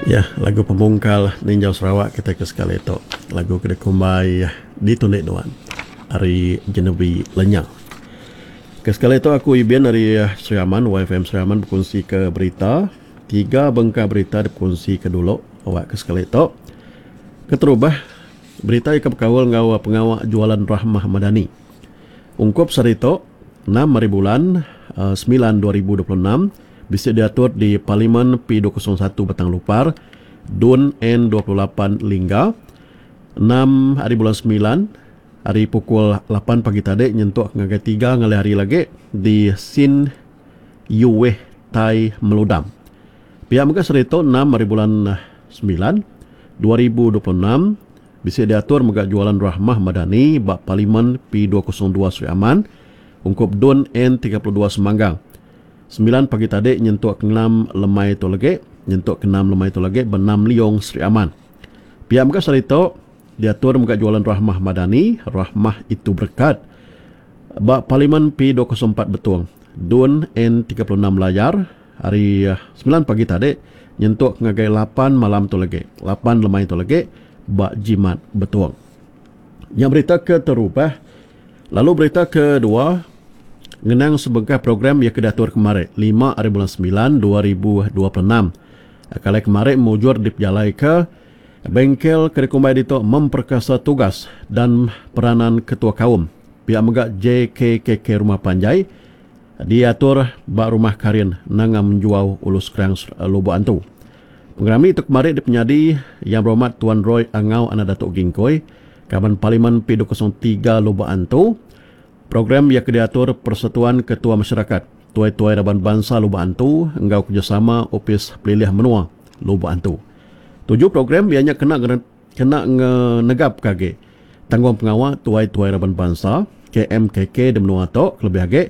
Ya, lagu pemungkal ninjau Sarawak kitai ke sekali tu. Lagu ke dikumbai Ditundi Nuan ari Genevi Lenya. Ke sekali tu aku Ibin ari Sri Aman, YFM Sri Aman bekunsika berita. Tiga bengkah berita dipekunsika dulu awak ke sekali tu. Keterubah, berita iya ke bekaul enggau pengawa Jualan Rahmah Madani. Ungkup sehari tu, enam hari bulan semilan 2026, bisi diatur di Parlimen P 201 Batang Lupar, Dun N 28 Lingga, enam hari bulan semilan, ari pukul lapan pagi tadi nyentuk ngagai tiga ngalih hari lagi di Sin Yueh Tai Meludam. Pia mega sehari tu, enam hari bulan semilan, 2026, Bisi diatur mega Jualan Rahmah Madani ba Parlimen P 202 Sri Aman ungkup Dun N 32 Semanggang. Sembilan pagi tadi nyentuk ke enam lemai tu lagi nyentuk ke enam lemai tu lagi ba Nam Liong Sri Aman. Pia mega sehari tu diatur mega Jualan Rahmah Madani, Rahmah Itu Berkat, ba Parlimen P 204 Betong, Dun N 36 Layar Ari semilan pagi tadi nyentuk ngagai lapan malam tu lagi, lapan lemai tu lagi ba Jimat Betong. Nya berita ke terubah. Lalu berita kedua ngenang sebengkah program iya ke diatur kemari lima ari bulan semilan 2026. Kalai kemari mujur dipejalaika bengkel ke dikumbai ditu Memperkasa Tugas dan Peranan Ketua Kaum pia mega JKKK Rumah Panjai Diatur ba Rumah Karin Nanga Menjuau Ulu Skrang Lubok Antu. Pengerami tu kemari dipenyadi Yang Berhormat Tuan Roy Angau Anak Datuk Gingkoi, Kaban Parlimen P 203 Lubok Antu. Program iya ke diatur Persatuan Ketua Masyarakat Tuai-Tuai Raban Bansa Lubok Antu enggau kerejasama Opis Pelilih Menua Lubok Antu. Tuju program iya nya kena Kena ngenegapka agi tanggungpengawa tuai-tuai raban bansa, KMKK, di menua tu kelebih agi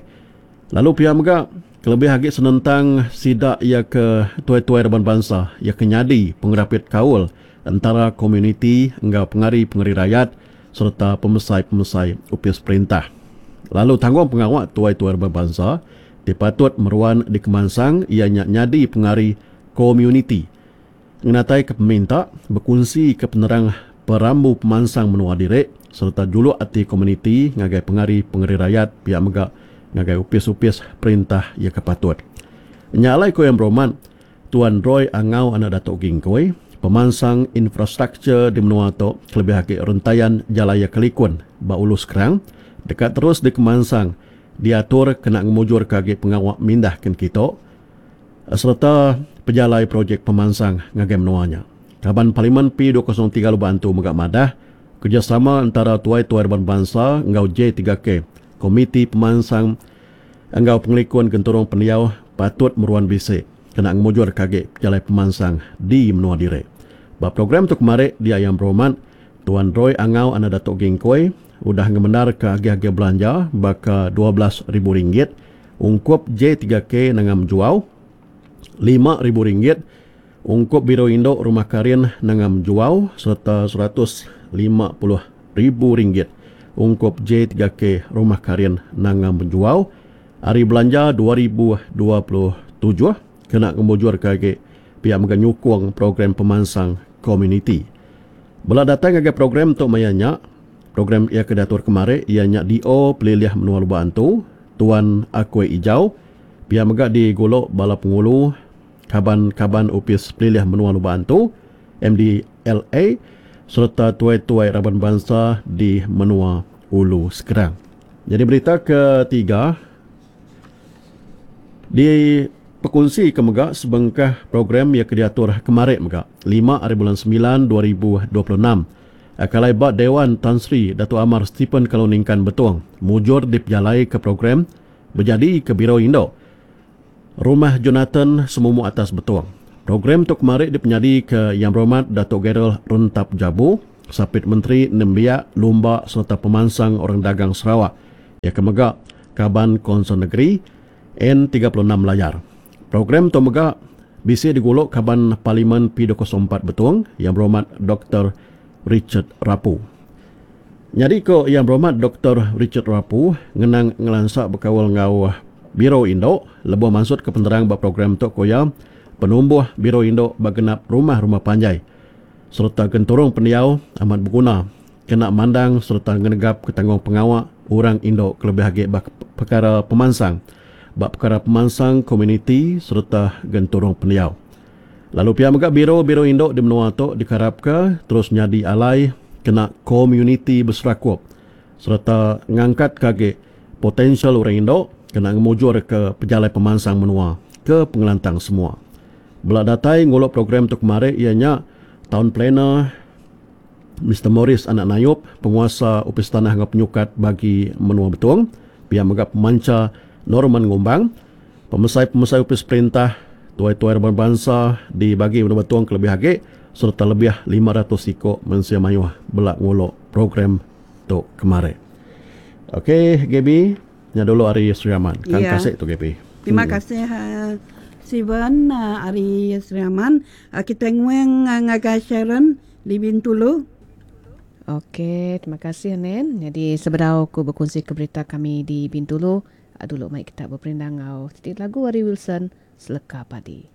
lalu pia mega kelebih agi senentang sida iya ke tuai-tuai raban bansa iya ke nyadi pengerapit kaul entara komuniti enggau pengari-pengari rayat sereta pemesai-pemesai opis perintah. Lalu tanggungpengawa tuai-tuai raban bansa ti patut meruan dikemansang iya nya nyadi pengari komuniti. Ngenataika peminta, bekunsika penerang perambu pemansang menua diri sereta juluk ati komuniti ngagai pengari pengeri rayat pia mega ngagai opis-opis perintah iya ke patut. Nya alai ku Yang Berhormat Tuan Roy Angau anak Datuk Gingkoi, pemansang infrastruktur di menua tu kelebih agi rentayan jalai iya ke likun ba Ulu Skrang deka terus dikemansang diatur kena ngemujurka agi pengawa mindah kin kitu. Sereta pejalai projek pemansang ngagai menua nya. Kaban Parlimen P 203 Lubok Antu mega madah, kerejasama entara tuai-tuai raban bansa enggau J tiga K, Komiti Pemansang enggau Pengelikun Genturung Pendiau patut meruan bisi kena ngemujurka agi pejalai pemansang di menua diri. Ba program tu kemari dia Yang Berhormat Tuan Roy Angau anak Datuk Gingkoi udah ngemendarka agih-agih belanja baka 12,000 ringgit Ungkup J tiga K Nanga Menjuau, 5000 ringgit, ungkup Biro Indu Rumah Karin Nanga Menjuau sereta 150,000 ringgit ungkup J tiga K Rumah Karin Nanga Menjuau ari belanja 2027 kena ngemujurka agi pia mega nyukung program pemansang komuniti. Bela datai ngagai program tu maya nya, program iya ke diatur kemari iya nya DO Pelilih Menua Lubok Antu, Tuan Akoi Ijau, pia mega digulu bala pengulu kaban-kaban Opis Pelilih Menua Lubok Antu, MDLA, sereta tuai-tuai raban bansa di menua Ulu Skrang. Nyadi berita ketiga dipekunsi ke mega sebengkah program iya ke diatur kemari mega lima ari bulan semilan 2026. Kalai ba Dewan Tan Sri Datuk Amar Stephen Kalong Ningkan Betong mujur dipejalaika program bejadika Biro Indu Rumah Jonathan Semumuk Atas Betong. Program tu kemari dipenyadika Yang Berhormat Datuk Gerald Rentap Jabu, Sapit Menteri Nembiak, Lumba sereta Pemansang Orang Dagang Sarawak iya ke mega Kaban Konsel Negeri N 36 Layar. Program tu mega bisi digulu Kaban Parlimen P 204 Betong, Yang Berhormat Doktor Richard Rapu. Nyadi ku Yang Berhormat Doktor Richard Rapu ngenang ngelansa bekaul enggau Biro Indu lebuh mansutka penerang ba program tu ku iya, Penumbuh Biro Indu ba genap rumah-rumah panjai sereta genturung pendiau amat beguna kena mandang sereta ngenegapka tanggungpengawa orang indu kelebih agi ba pekara pemansang ba pekara pemansang komuniti sereta genturung pendiau. Lalu pia mega biro-biro indu di menua tu dikarapka terus nyadi alai kena komuniti beserakup sereta ngangkatka agi potensial orang indu kena ngemujurka pejalai pemansang menua ke pengelantang semua. Bela datai ngulu program tu kemari iya nya Town Planner Mister Maurice Anak Nayup, Penguasa Opis Tanah enggau Penyukat Bagi Menua Betong, pia mega Pemancha Norman Ngumbang, pemesai-pemesai opis perintah, tuai-tuai raban bansa di Bagi Menua Betong kelebih agi sereta lebih 500 iku mensia mayuh bela ngulu program tu kemari. Ok Gaby, nya dulu ari Sri Aman. Kang Ya. kasih tu Gaby. Terima kasih Steven ari Sri Aman. Kitai nguing ngagai Sharon di Bintulu. Ok, terima kasih Nen. Nyadi sebedau aku bekunsi ke berita kami di Bintulu, dulu mai kita beperindang enggau siti lagu ari Wilson, Seleka Padi.